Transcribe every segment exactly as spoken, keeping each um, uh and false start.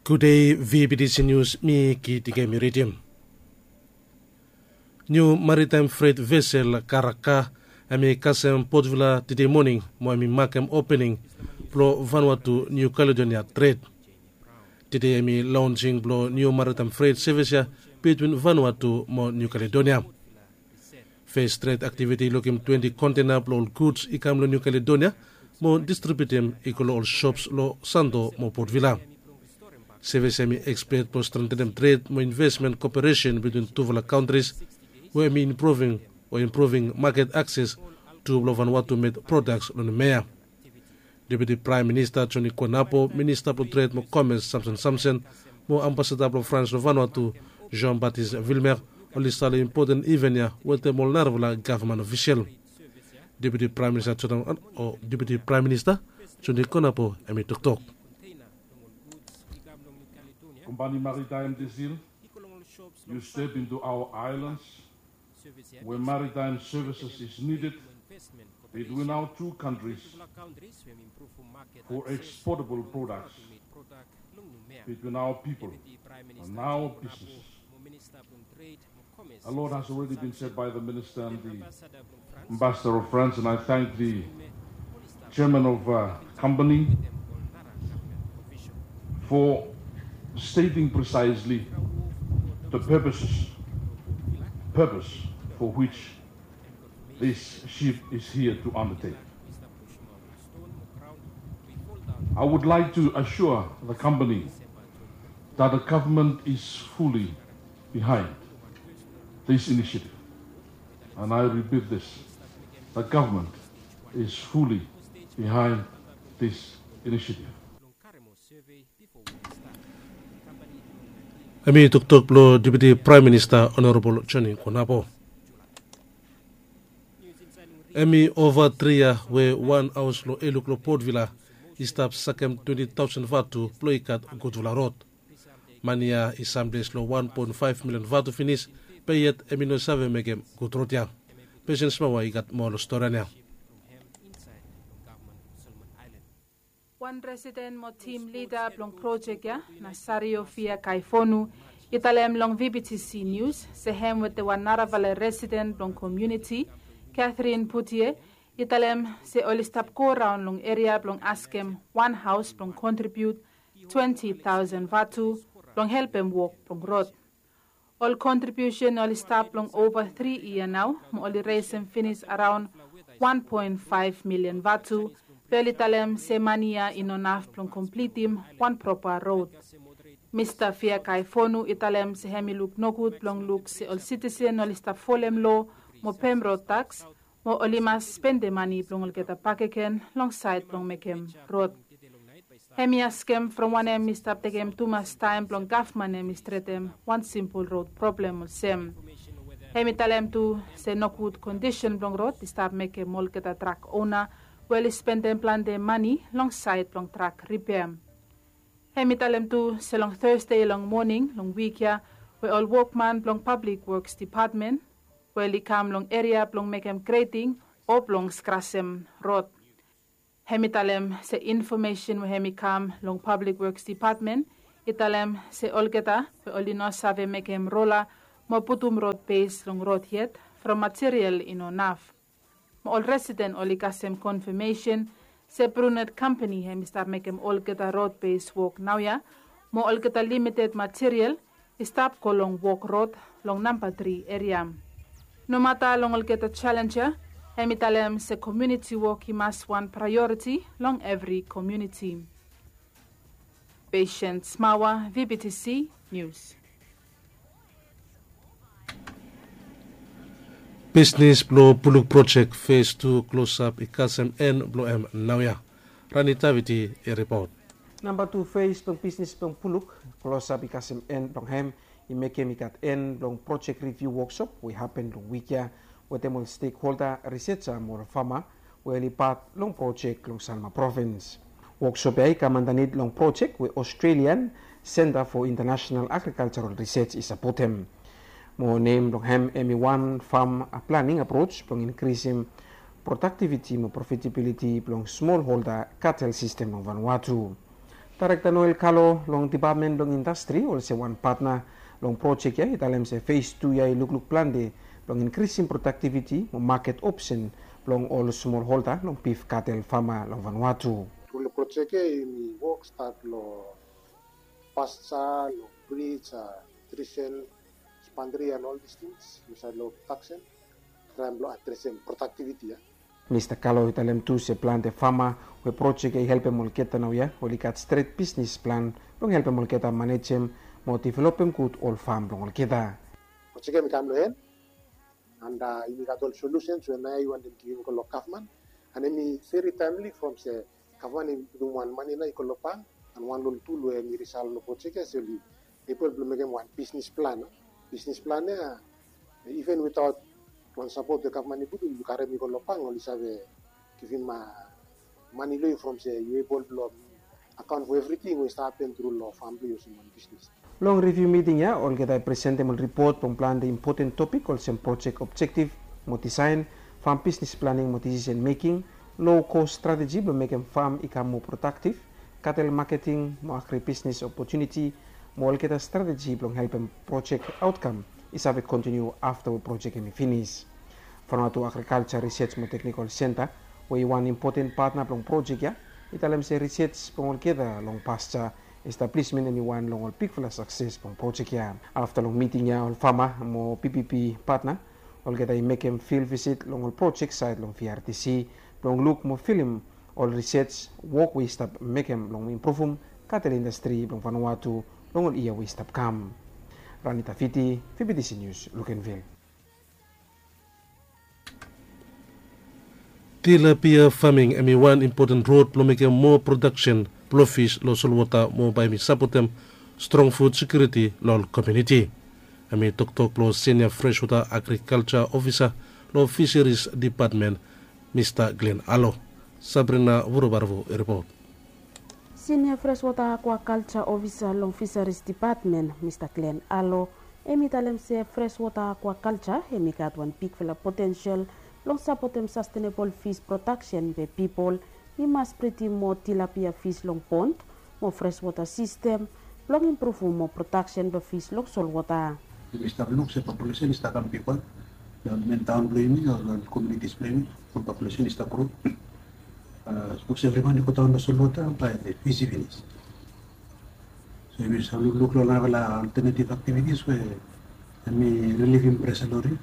Gude, V B T C News mi Kiti Kemi ridim. Niu maritaem fret vesel Karaka hemi kasem Port Vila tede moning mo hemi makem opening blong Vanuatu Niu Kaledonia tred. Tede hemi laonsing blong niu maritaem fret sevis ya bitwin Vanuatu mo Niu Kaledonia. Fes tred aktiviti i lukim twenti kontena blong ol guds i kam long Niu Kaledonia mo distribiutim i go long ol sops long Santo mo Port Vila. Sevis ya hemi ekspet blong strentenem tred mo invesmen koperesen bitwin tufala kantris we hemi impruving o impruving maket akses tu blong Vanuatu med prodaks long Numea. Deputi Praem Minista Joni Konapo, Minista blong Tred mo Komes Samson Samson, mo Ambasada blong Frans long Vanuatu Jean Baptiste Vilmer oli stap long impoten iven ya wetem ol narafala gavman ofisel. Deputi Praem Minista Joni o Deputi Praem Minista Joni Konapo hemi toktok. Company Maritime Desil, you step into our islands where maritime services is needed between our two countries for exportable products between our people and our businesses. The Lord has already been said by the minister and the ambassador of France, and I thank the chairman of uh, company for stating precisely the purposes, purpose for which this ship is here to undertake. I would like to assure the company that the government is fully behind this initiative. And I repeat this, the government is fully behind this initiative. Hemi toktok blong Deputi Praem Minista Honorabol Joni Konapo. Hemi ova tri yia we wan haos long Eluk long Port Vila i stap sakem twenti taosen vatu blong i gat gudfala rod. Mani ya i samples long wan poen faef milian vatu finis, be yet hemi no save mekem gud rod ya. Pesen Smawa i gat moa long storian ya. Wan residen mo tim lida blong projek ya, Nasario Fia Kaifonu, i talem long V B T C News se hem wetem wan narafala residen blong komuniti, Catherine Putie, i talem se oli stap goraon long eria blong askem wan haos blong kontribiut twenti taosen vatu blong helpem wok blong rod. Ol kontribiusen oli stap long ova tri yia nao mo oli resem finis araon wan poen faef milian vatu, be oli talem se mani ya i no naf blong komplitim wan propa rod. Mista Fia Kaifonu i talem se hem i luk nogud blong luk se ol sitisen oli stap folem loa mo pem rod taks, mo oli mas spendem mani blong olgeta bakegen long saed blong mekem rod. Hem i askem from wanem i stap tekem tumas taem blong gavman hem i stretem wan simpol rod problem olsem. Hem i talem tu se nogud kondisen blong rod i stap mekem olgeta trak ona we oli spendem plante mani long saed blong trak ripea. Hem i talem tu se long Thursday long moning long wik ya we ol wokman blong Public Works Department we oli kam long eria blong mekem greting o blong skrasem rod. Hem i talem se infomesen we hem i kam long Public Works Department i talem se olgeta we oli no save mekem rola mo putum rod bes long rod yet from material i no naf. Mo ol residen oli kasem konfamesen se Brunet kampani hem i stap mekem olgeta rod bes wok naoia, mo olgeta limited material i stap go long wok rod long namba tri eria. Nomata long olgeta jalenj ya, hem i talem se komuniti wok i mas wan praeoriti long evri komuniti. Patient Smawa, V B T C News. Bisnis blong Puluk projek fes tu klosap i kasem en blong hem naoia. Rani Taviti i ripot. Namba tu fes blong bisnis blong Puluk klosap i kasem en blong hem i mekem i gat en blong projek riviu woksop we i hapen long wik ya wetem ol stekholda, risetsa mo ol fama we oli pat long projek long Salma provins. Woksop ya i kam andanit long projek we Australian Centre for International Agricultural Research i sapotem. Mo nem blong hem hem i wan fam planing aproch blong inkrisim prodaktiviti mo profitabiliti blong smolholda katel sistem long Vanuatu. Daerekta Noel Kalo long Depatmen blong Indastri olsem wan patna long projek ya i talem se fes tu ya i lukluk plante blong inkrisim prodaktiviti mo maket opsen blong ol smol holda long bif katel fama long Vanuatu. Tru long projek ya yumi wok stat long pasta, long brij, trisen, spandri and all these things insait long prodaksen. Traem blong adresem prodaktiviti ya. Mista Kalo i talem tu se plante fama we projek ya i helpem olgeta naoia oli gat stret bisnis plan blong helpem olgeta manejem mo developem gud ol fam blong olgeta. Projek ya mi kam long en and yumi gat ol solusens we naoia i wantem givim go long gavman. And hemi veri taemli from se gavman i putum wan mane nao i go long bank and wan long ol tul we hemi risal long projek ya se oli ebol blong mekem wan bisnis plan. Bisnis plan ya even witaot wan sapot we gavman i putum yu karem i go long bank oli save givim mane long yu from se yu ebol blong akaon fo evriting we i stap hapen tru long fam blong yu olsem wan bisnis. Long riviu miting ya olgeta i presentem ol ripot blong plante impoten topik olsem projek objektif mo disaen, fam bisnis planing mo disisen meking, low kos strateji blong mekem fam i kam moa prodaktif, katel maketing mo agri bisnis opotuniti mo olgeta strateji blong helpem projek aotkam i save kontiniu afta we projek hemi finis. Vanuatu Agrikalja Risej mo Teknikol Senta we i wan impoten patna blong projek ya i talem se risej blong olgeta long pasta establismen hemi wan long ol bigfala sakses blong projek ya. Afta long miting ya ol fama mo B B B patna olgeta i mekem fil visit long ol projek saed long V R T C blong luk mo filim ol risej wok we i stap mekem blong impruvum katel indastri blong Vanuatu long ol yia we i stap kam. Ranita Fiti, V B T C Nius, Lukenvil. Tilapia faming hemi wan impoten rod blong mekem moa prodaksen blong fis long solwota mo bae hemi sapotem strong fud sekiuriti long ol komuniti. Hemi toktok blong sinia freswota agrikalja ofisa long fiseris depatmen, Mista Glen Alo. Sabrina Vuruvarvu i ripot. Sinia freswota akwakalja ofisa long fiseris depatmen, Mista Glen Alo, hemi talem se freswota akwakalja hemi gat wan bigfala potensel blong sapotem sastenebol fis prodaksen be pipol i mas bridim moa tilapia fis long pond mo freswota sistem blong impruvum moa prodaksen blong fis long solwota. Yumi stap luk se populesen i stap kam bigwan long men taon blong yumi o long komunitis blong yumi. Ol populesen i stap gro. Sapos evri man i go daon long solwota bae fis i finis. So yumi save lukluk long narafala oltenetiv aktivitis we hemi rilivim presa long ri.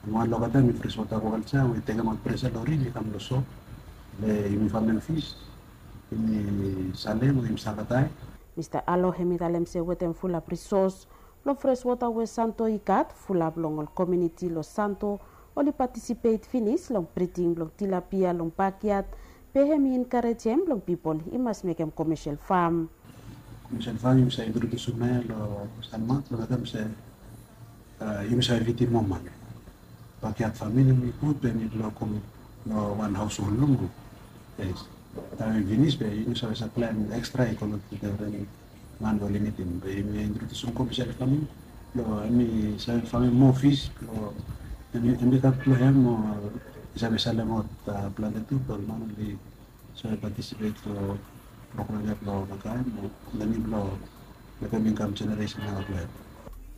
Wan long olgeta hemi freswota akwakalja we i tekemaot presa long ri, hemi kam long so we yumi famem fis, yumi salem o yumi save taem. Mista Alo hemi talem se wetem fulap risos long freswota we Santo i gat, fulap long ol komuniti long Santo oli patisipet finis long briding blong tilapia long bakyat, be hemi enkarejem blong pipol i mas mekem komesel fam. Komesel fam yumi save introdusim naoia long Sanmak blong mekem se yumi save fidim moa man. Bakyat faming hemi gud be hemi blong komun long wan haoshol long gud. Yes. Taem hemi finis be yumi save saplaem ekstra i go long ol man we oli nidim. Be yumi introdusim komesel faming blong hemi save famem moa fis blong hemi gat blong hem o i save salemaot plante tu blong ol man oli save patisipet long program ya blong olgeta taem o lenim blong mekem i kam jeneresen nao blong hem.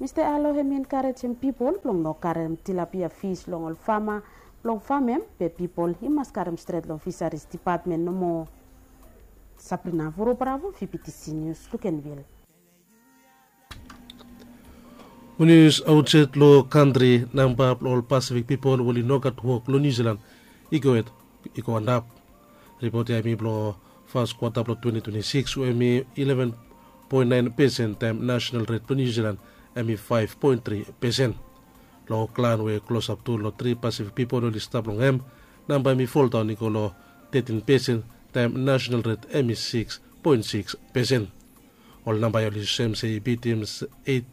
Mista Alo hemi enkarejem pipol blong no karem tilapia fis long ol fama blong famem, be pipol i mas karem stret long fisaris depatmen nomo. Sabrina Vurubravo, V B T C Nius, Lukenvil. Ol nius aotsaed long kantri, namba blong ol Pasifik pipol we oli no gat wok long Niu Jilan i go hed i go antap. Ripot ya hemi blong fas kwata blong twenti twenti sikis we hemi ileven poen naen pesen taem nasonal ret blong Niu Jilan hemi faef poen tri pesen. Long klan we klosap tu long tri Pasifik pipol oli stap long hem, namba hemi foldaon i go long tetin pesen taem nasonal ret hemi siks poen siks pesen. Ol namba ya oli sem se i bitim eit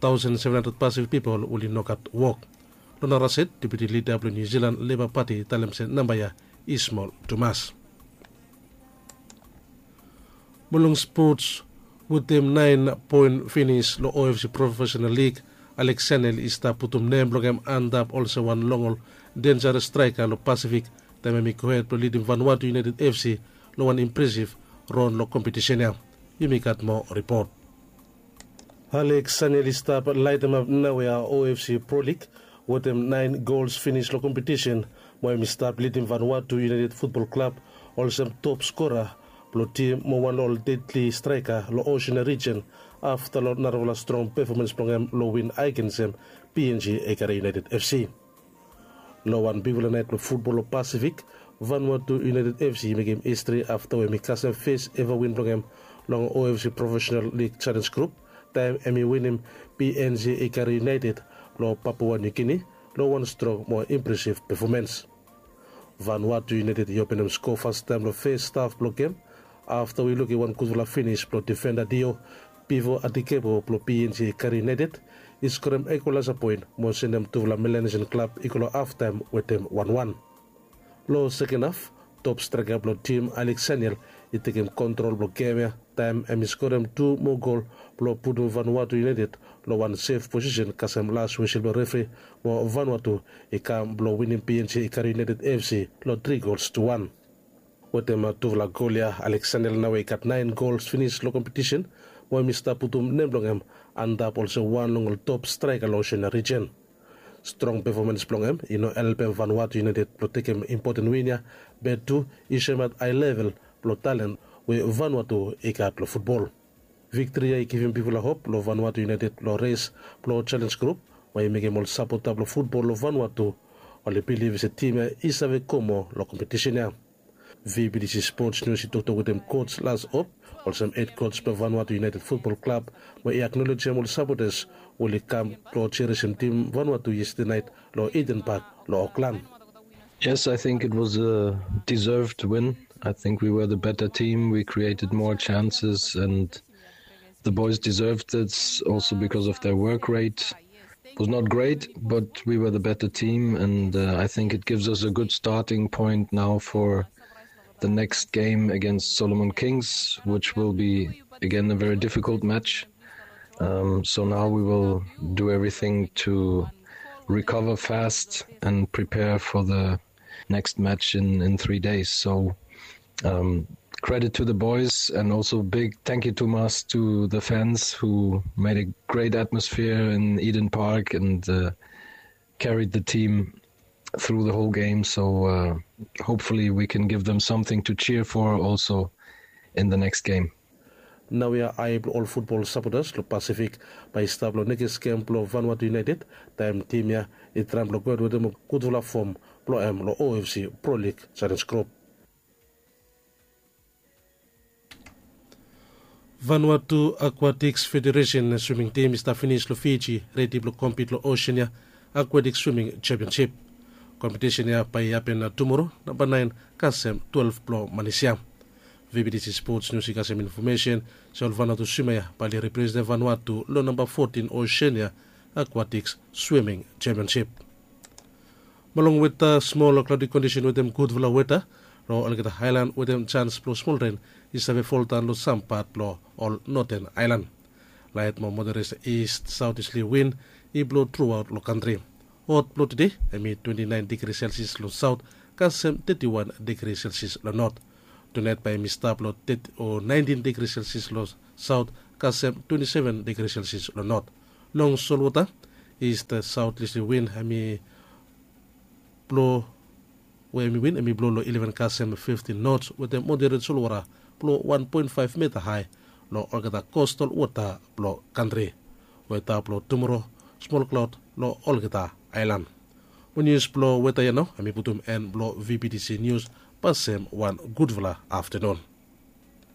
taosen seven handred Pasifik pipol we oli no gat wok. Long nara saed, deputi lida blong Niu Jilan Leba Pati i talem se namba ya i smol tumas. Mo long spots, wetem naen poen finis long O F C Profesenal Lig, Alex Sanel i stap putum nem blong hem antap olsem wan long ol denjares straeka long Pasifik taem hemi gohed blong lidim Vanuatu United F C long wan impresif Ron long kompetisen ya. Yumi gat moa ripot. Alex Saniel i stap laetemap naoia O F C Pro League wetem naen gols finis long kompetisen, mo hem i stap lidim Vanuatu United Futbol Klab olsem top skora blong tim mo wan long ol dedli straeka long Oseania rijen, afta long narafala strong pefomans blong hem long win agensem P N G Ekare United F C. Long wan bigfala naet blong futbol long Pasifik, Vanuatu United F C i mekem histri afta we hem i kasem fes eva win blong hem long O F C Profesenal Lig Jalenj Grup, taem hem i winim P N G Ekare United long Papua Niu Gini long wan strong mo impresiv pefomans. Vanuatu United i openem skoa fastaem long fes haf blong gem, afta we i lukim wan gudfala finis blong difenda Dio bifo Adikebo blong P N G Ekare United i skorem ikwalaesa poen mo sendem tufala Melanesian klab i go long haftaem wetem wan wan. Long seken haf, top straeka blong tim Alex Saniel i tekem kontrol blong gem ya, taem hem i skorem tu moa gol blong putum Vanuatu United long wan sef posisen kasem las wesel blong refri, mo Vanuatu i kam blong winim P N G Ekare United F C long tri gols tu wan. Wetem tufala gol ya, Alex Saniel naoia i gat naen gols finis long kompetisen, mo hem i stap putum nem blong hem antap olsem wan long ol top straeka long Oseania rijen. Strong pefomans blong hem i no helpem Vanuatu United blong tekem impoten win ya, be tu i soemaot hae level blong talen we Vanuatu i gat long futbol. Viktri ya i givim bigfala hop long Vanuatu United long res blong Jalenj Grup, we i mekem ol sapota blong futbol long Vanuatu oli bilif se tim ya i save go moa long kompetisen ya. V B T C Sports News i toktok wetem koj Las Op, olsem hed koj blong Vanuatu United Futbol Klab, we i aknolejem ol sapotas we oli kam blong jeresim tim Vanuatu yestede naet long Eden Park long Oklan. Yes, I think it was a deserved win. I think we were the better team. We created more chances, and the boys deserved it also because of their work rate. It was not great, but we were the better team, and uh, I think it gives us a good starting point now for the next game against Solomon Kings, which will be again a very difficult match. Um, so now we will do everything to recover fast and prepare for the next match in, in three days. So um, credit to the boys, and also big thank you, Thomas, to the fans who made a great atmosphere in Eden Park and uh, carried the team through the whole game. So uh, hopefully we can give them something to cheer for also in the next game. Naoia ae blong ol futbol sapotas long Pasifik bae i stap long nekis gem blong Vanuatu United, taem tim ya i traem blong gohed wetem gudfala fom blong hem long O F C Pro League Jalenj Grup. Vanuatu Akwatiks Federesen swiming tim i stap finis long Fiji, redi blong kompit long Oseania Akwatiks Swiming Jempionsip. Kompetisen ya bae i hapen tumoro, namba naen kasem twelef blong manis ya. V B T C Sports News i kasem infomesen se ol Vanuatu swima ya bae oli representem Vanuatu long namba fotin Oseania Akwatiks Swiming Jempionsip. Mo long weta, smol klaodi kondisen wetem gudfala weta long olgeta aelan wetem jans blong smol ren i save foldaon long sam pat blong ol noten aelan. Laet mo moderet ist saotistli win i blo truaot long kantri. Hot blong tede hem i twenti naen digri selsias long saot kasem teti wan digri selsias long not. Tunaet bae hem i stap long teti o naentin digri selsias long saot kasem twenti seven digri selsias long not. Long solwota, ist saotistli win hem i blo we hem i win hem i blo long ileven kasem fiftin nots wetem moderet solwota blo wan poen faef meta hae long olgeta kostal wota blo kantri. Weta blo tumoro, smol klaod long olgeta aelan. Mo nius blo weta ya nao hem i putum en blo V B T C Nius. Pasem wan gudfala aftenun.